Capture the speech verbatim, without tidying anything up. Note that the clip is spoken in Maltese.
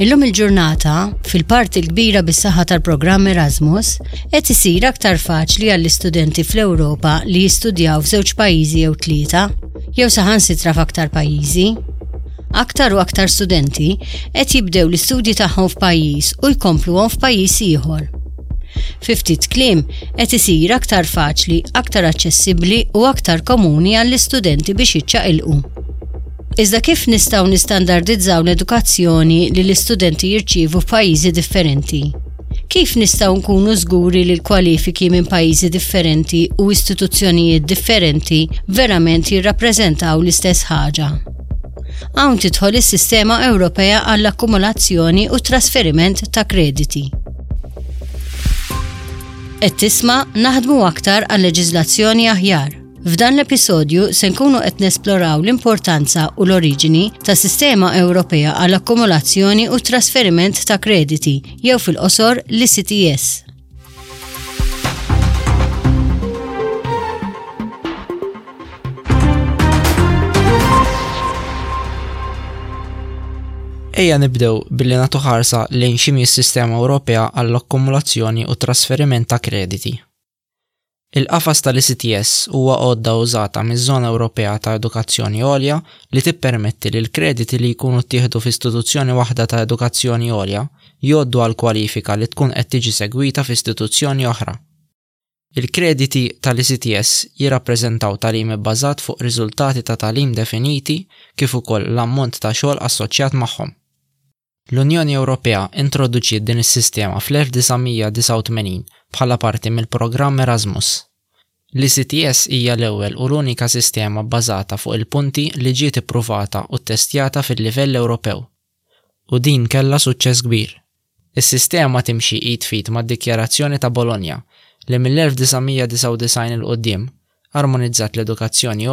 Illum il-ġurnata, fil-parti l-kbira bis-saħħa tal-programm Erasmus, qed isir aktar faċli għall-istudenti fl-Ewropa li jistudjaw f'żewġ pajjiżi jew tlieta, jew saħansitra f'aktar pajjiżi. Aktar u aktar studenti qed jibdew l-istudji tagħhom f'pajjiż u jkompluhom f'pajjiż ieħor. Fi ftit kliem qed isir aktar faċli, aktar aċċessibbli u aktar komuni għall-istudenti biex jiċċaqilqu. Iżda kif nistgħu nistandardizzaw l-edukazzjoni li l-istudenti jirċievu f'pajjiżi differenti? Kif nistgħu nkunu żguri li l-kwalifiki minn pajjiżi differenti u istituzzjonijiet differenti verament jirrappreżentaw l-istess ħaġa? Hawn tidħol is-sistema Ewropea għall-akkumulazzjoni u trasferiment ta' krediti. Qed tisma' naħdmu aktar għal leġiżlazzjoni aħjar. F'dan l-episodju se nkunu qed nesploraw l-importanza u l-oriġini ta' sistema Ewropea għall akkumulazzjoni u trasferiment ta' krediti jew fil-qosor l-E C T S. Ejja nibdew billi nagħtu ħarsa lejn x'inhi s-sistema Ewropea għall-akkumulazzjoni u trasferiment ta' krediti. Il-qafas tal-E C T S huwa għodda użata miż-Żona Ewropea ta' Edukazzjoni Għolja li tippermetti li l-krediti li jkunu ttieħdu f'istituzzjoni waħda ta' edukazzjoni għolja jgħoddu għal kwalifika li tkun qed tiġi segwita f'istituzzjoni oħra. Il-krediti tal-E C T S jirrappreżentaw tagħlim ibbażat fuq riżultati ta' tagħlim definiti kif ukoll l-ammont ta' xogħol assoċjat magħhom. L-Unjoni Ewropea introduċiet din is-sistema fl-elf disa' mija disgħa u tmenin bħala parti mill-programm Erasmus. L-E C T S hija l-ewwel u l-unika sistema bbażata fuq il-punti li ġiet ippruvata u ttestjata fil-livell Ewropew. U din kellha suċċess kbir. Is-sistema timxi id f'id mad-Dikjarazzjoni ta' Bologna li mill-elf disa' mija disgħa u disgħin 'il quddiem armonizzat l-edukazzjoni.